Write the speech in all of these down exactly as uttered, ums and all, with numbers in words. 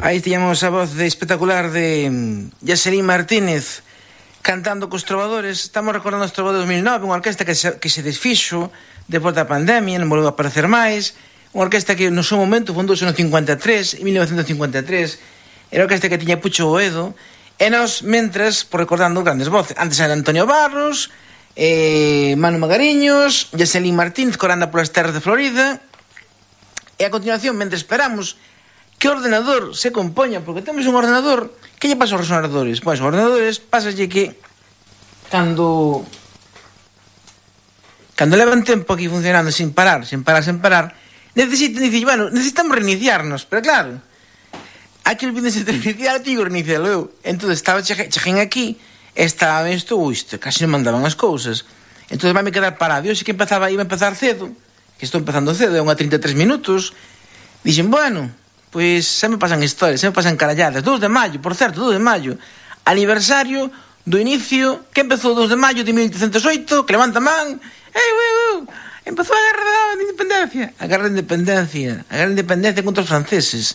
Aí tiñamos a voz de espectacular de Yaselín Martínez cantando cos trovadores. Estamos recordando os trovadores de dos mil nove, unha orquesta que se, que se desfixo depois da pandemia, non volveu a aparecer máis. Unha orquesta que no seu momento fundouse no cincuenta e tres, en mil novecentos cincuenta e tres. Era a orquesta que tiña Pucho Boedo. E nós, mentres, por recordando grandes voces. Antes era Antonio Barros, eh, Manu Magariños, Yaselín Martínez, coranda polas terras de Florida. E a continuación, mentre esperamos que o ordenador se compoña, porque temos un ordenador, que lle pasa aos ordenadores? Pois, os ordenadores pásalle que cando cando levan tempo aquí funcionando sin parar, sin parar, sin parar, necesitan, dicir, bueno, necesitamos reiniciarnos, pero claro, aquí olvídense de reiniciar, tigo reiniciarlo eu. Entón, estaba cheguen aquí, estaba isto, isto, casi non mandaban as cousas. Entón, vai me quedar parado. Eu sei que empezaba, iba a empezar cedo, que estou empezando cedo, é unha trinta e tres minutos. Dixen, bueno, pois xa me pasan historias, xa me pasan caralladas. dous de maio, por certo, dous de maio, aniversario do inicio, que empezou o dous de maio de mil oitocentos e oito, que levanta man, ei, ui, ui, empezou a guerra da independencia, a guerra da independencia, a guerra da independencia contra os franceses,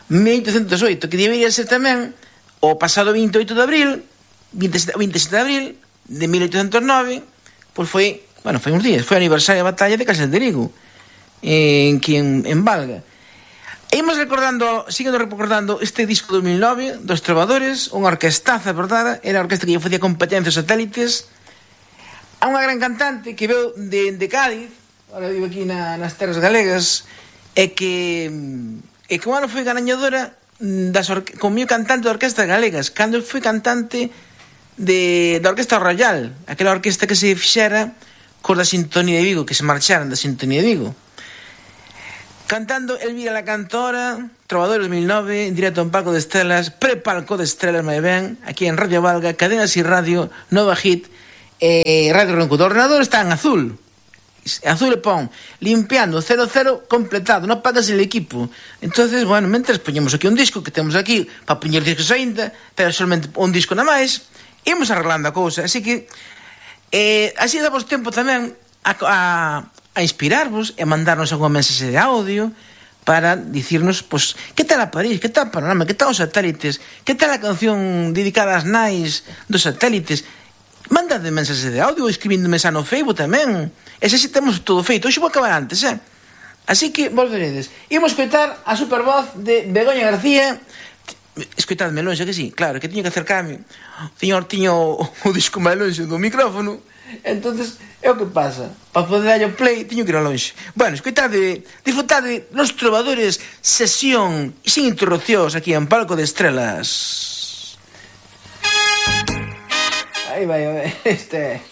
mil oitocentos e oito, que debería ser tamén o pasado vinte e oito de abril, vinte e sete de abril de mil oitocentos e nove, pois foi, bueno, foi uns días, foi o aniversario da batalla de Casas de Rigo, en que en, en Valga. E imos recordando, seguindo recordando este disco de dos mil nove, dos Trovadores, unha orquestaza, verdade? Era a orquesta que lle facía competencia aos satélites. A unha gran cantante que veu de, de Cádiz, ahora vive aquí na, nas terras galegas, e que e que un ano foi gañadora das orque, como cantante de orquestas galegas, cando foi cantante de, da Orquesta Royal, aquela orquesta que se fixera cos da Sintonía de Vigo, que se marcharan da Sintonía de Vigo. Cantando Elvira la Cantora, Trovadores dos mil nove, en directo en Palco de Estrelas, pre-Palco de Estrelas, moi ben, aquí en Radio Valga, Cadenas y Radio, Nova Hit, eh, Radio Ronco. O ordenador está en azul, azul e pon, limpiando, cero cero completado, non pagas el equipo. Entonces, bueno, mentres poñemos aquí un disco, que temos aquí, para poñer discos ainda, pero solamente un disco na máis, imos arreglando a cousa. Así que, eh, así damos tempo tamén a... a a inspirarvos e mandarnos alguna mensaxe de audio para dicirnos, pois, que tal a París, que tal a Panorama, que tal os satélites, que tal a canción dedicada ás nais dos satélites. Mandade mensaxe de audio ou escribíndome xa no Facebook tamén. E xa si temos todo feito. Hoxe vou acabar antes, eh? Así que volveredes. Imos escoitar a supervoz de Begoña García. Escoitadme longe, que sí, claro, que tiño que acercarme. O señor tiño o disco máis longe do micrófono. Entonces, é o que pasa. Para poder dar o play, teño que ir a longe. Bueno, escoitade, disfrutade Los Trovadores, sesión sin interrupcións aquí en Palco de Estrelas. Aí vai, este...